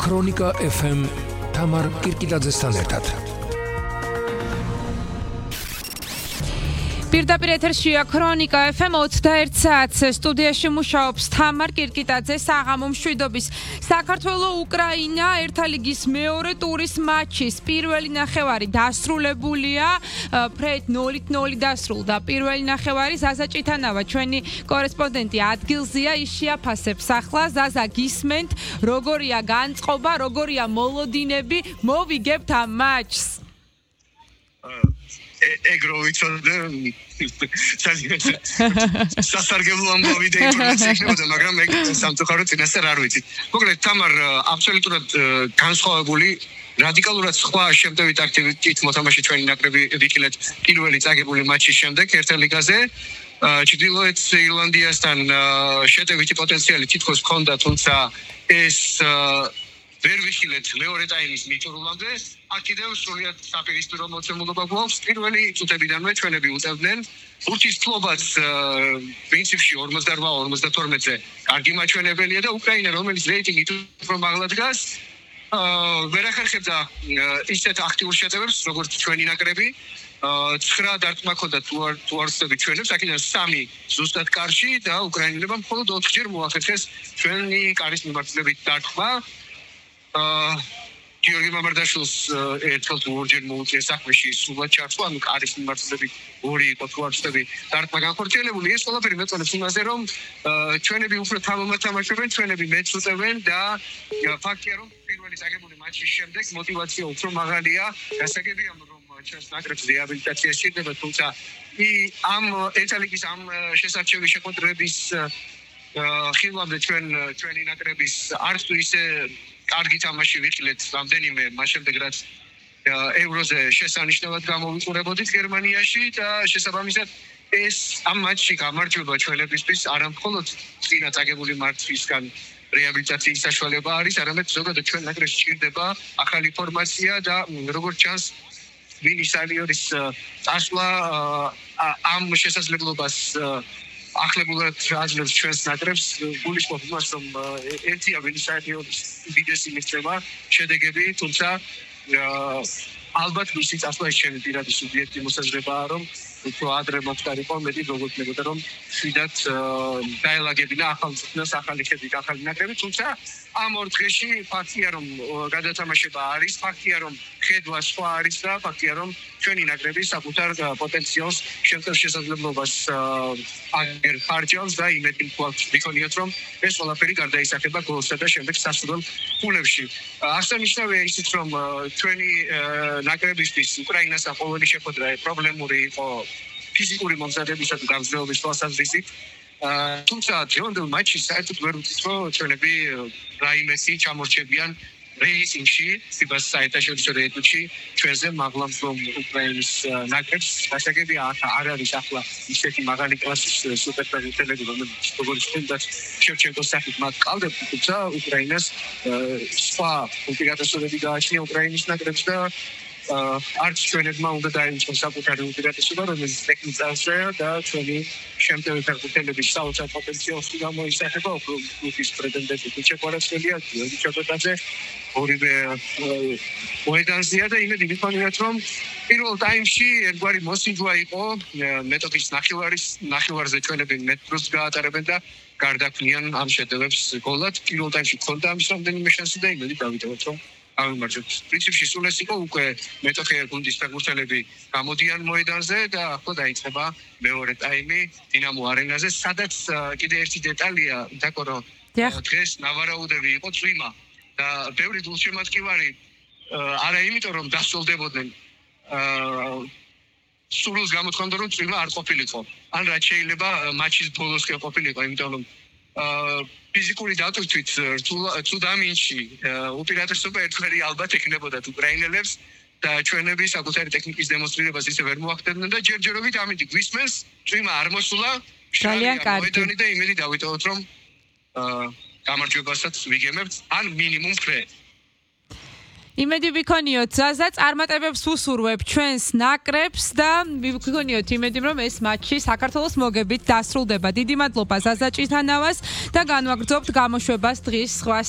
ქრონიკა FM თამარ კირკიტაძესთან ერთად. პირდაპირ ეთერშია ქრონიკა FM 21 საათს სტუდიაში მუშაობს თამარ კირკიტაძე. საღამო მშვიდობის. საქართველო-უკრაინა ერთა ლიგის მეორე ტურის მატჩის პირველი ნახევარი დასრულებულია. ფრედ 0-0 დასრულდა პირველი ნახევარი. ზაზა ჭითანავა ჩვენი კორესპონდენტი ადგილზეა, ის შეაფასებს ახლა. ზაზა, გისმენთ, როგორია განწყობა, როგორია მოლოდინები, მოვიგებთ ამ მატჩს. ეგრო ვიცოდე სასარგებლო ამბავი და ინფორმაცია იქნებოდა, მაგრამ ეგ სამწუხაროდ წინასწარ არ ვიცით. მოკლედ თამარ აბსოლუტურად განსხვავებული რადიკალურად სხვა შემტევით აქტივიტით მოთამაშე ჩვენი ნაკრები ვიქილეთ პირველი წაგებული მატჩის შემდეგ ერთა ლიგაზე. ჩრდილოეთ ირლანდიასთან შეტევითი პოტენციალი თითქოს ჰქონდა, თუმცა ეს ვერ ვიხილეთ მეორე ტაიმის მიწურულამდე. აქ კიდევ სრულიად საპირისპირო მოცემულობა გვაქვს. პირველი წუთებიდანვე ჩვენები უწევდნენ ურთიერთობაც პრინციპში 48-52-ზე კარგი მაჩვენებელია და უკრაინა, რომელიც რეიტინგით უფრო მაღლა დგას, ვერ ახერხებდა ისეთ აქტიურ შეტევებს, როგორც ჩვენი ნაკრები. 9 დარტყმა ჰქონდა თუ არ ვცდები ჩვენებს, აქედან 3 ზუსტად კარში და უკრაინელებმა მხოლოდ 4-ჯერ მოახერხეს ჩვენი კარის მიმართულებით დარტყმა. გიორგი მამარდაშვილს ერთხელ თუ ორჯერ მოუწია საქმეში სრულად ჩართვა, ანუ კარის მიმართულებით 2 იყო თუ არ ვცდები დარტყმა განხორციელებული. ეს ყველაფერი მეწონებს იმაზე, რომ ჩვენები უფრო თავმოყრად თამაშობენ, ჩვენები მეც უწევენ და ფაქტია, რომ პირველი წაგებული მატჩის შემდეგ мотиваცია უფრო მაღალია. გასაგებია, რომ ჩვენს ნაკრებს რეაბილიტაცია სჭირდება, თუმცა ამ ერთა ლიგის ამ შესარჩევი შეხვედრების ხილვამდე ჩვენი ნაკრების არც თუ ისე კარგი თამაში ვიხილეთ რამდენიმე მას შემდეგ რაც ევროზე შესანიშნავად გამოვიყურებოდით გერმანიაში და შესაბამისად ეს ამ მატჩში გამარჯვება ჩვენებისთვის არა მხოლოდ წინა წაგებული მატჩისგან რეაბილიტაციის საშუალება არის, არამედ ზოგადად ჩვენ ნაკრებს სჭირდება ახალი ფორმაცია და როგორც ჩანს ვინის ალიორის წასვლა ამ შესაძლებლობას ახლებურად აძლევს ჩვენს ნაკრებს. გულისხმობ იმას, რომ ერთია ვინისაიორის უდიდესი მიღწევა შედეგები, თუმცა ალბათ მისი წასვლა ის ჩემი პირადი სუბიექტი მოსაზრებაა, რომ უფრო ადრე მოხდარიყო, მეტი მოგოჩნდებოდა, რომ შვიდად დაელაგებინა ახალ წუთას, ახალი ხედვით, ახალი ნაკრები, თუმცა ამ ორ დღეში ფაქტია, რომ გადათამაშება არის, ფაქტია, რომ ხედვა სხვა არის და ფაქტია, რომ ჩვენი ნაკრები საკუთარ პოტენციალს შემწევ შესაძლებლობას აღარჯავს და იმედი გვაქვს, რომ ეს ყველაფერი გარდაისახება გოლსა და შემდეგ სასურველ ფულებში. აღსანიშნავია ისიც, რომ ჩვენი ნაკრებისთვის უკრაინასთან ყოველი შეხვედრა პრობლემური იყო ფიზიკური მომზადებისა და გამძლეობის თვალსაზრისით. თუმცა დღევანდელ მატჩში საერთოდ ვერ ვთქვით, რომ ჩვენები რაიმესი ჩამორჩებიან რეიტინგში, ფიბას საერთაშორისო რეიტინგში ჩვენზე მაღლა მდგომ უკრაინის ნაკრებს. გასაგებია, არ არის ახლა ისეთი მაღალი კლასის სუპერფეხბურთელები, რომელიც როგორც თუნდაც შევჩენკოს სახით მათ ყავდებთ, თუმცა უკრაინას სხვა უპირატესობები გააჩნია უკრაინის ნაკრებს და არც ჩვენებმა უნდა დაიწყოს საკუთარი უპირატესობა, რომელიც ტექნიკაზეა და ჩვენი შემტევი ფეხბურთელების საოცარ პოტენციალს გამოისახება. კლუბის პრეზიდენტი ქუჩა კვარაცხელია, გიორგი ჩოტაძე, ორივე მოედანზეა და იმედი ვიქონიათ, რომ პირველ ტაიმში ერთგვარი მოსინჯვა იყო მეტოქის ნახევარზე ჩვენები მეტროს გაატარებენ და გარდაქმნიან ამ შეტევებს გოლად. პირველ ტაიმში ჰქონდა ამის რამდენიმე შანსი და იმედი დავიტოვოთ, რომ ამიმარჯვებთ. პრინციპში სულ ეს იყო, უკვე მეტოქე გუნდის ფეხბურთელები გამოდიან მოედანზე და ახლა დაიწყება მეორე ტაიმი დინამო არენაზე, სადაც კიდე ერთი დეტალია, დაკორო დღეს ნავარაუდები იყო წვიმა და ბევრი გულშემატკივარი არა იმიტომ, რომ დასწოლდებოდნენ სულს გამოთქვამდა, რომ წვიმა არ ყოფილიყო. ან რაც შეიძლება მატჩის ბოლოს კი ყოფილიყო, იმიტომ რომ ფიზიკური დატვირთვით რთულ ამინში უპირატესობა ერთხელი ალბათ ეკნებოდა უკრაინელებს და ჩვენები საკუთარი ტექნიკის დემონსტრირებას ისე ვერ მოახდენდნენ და ჯერჯერობით ამინდი გვისმენს, წვიმა არ მოსულა, ძალიან კარგი და იმედი დავიტოვოთ, რომ გამარჯვებასაც ვიგემებთ, ან მინიმუმ ფრე. იმედი ვიქონიოთ, ზაზა, წარმატებებს უსურვებ ჩვენს ნაკრებს და ვიქონიოთ იმედი, რომ ეს მატჩი საქართველოს მოგებით დასრულდება. დიდი მადლობა ზაზა ჭითანავას და განვაგრძობთ გამოშვებას დღის სხვა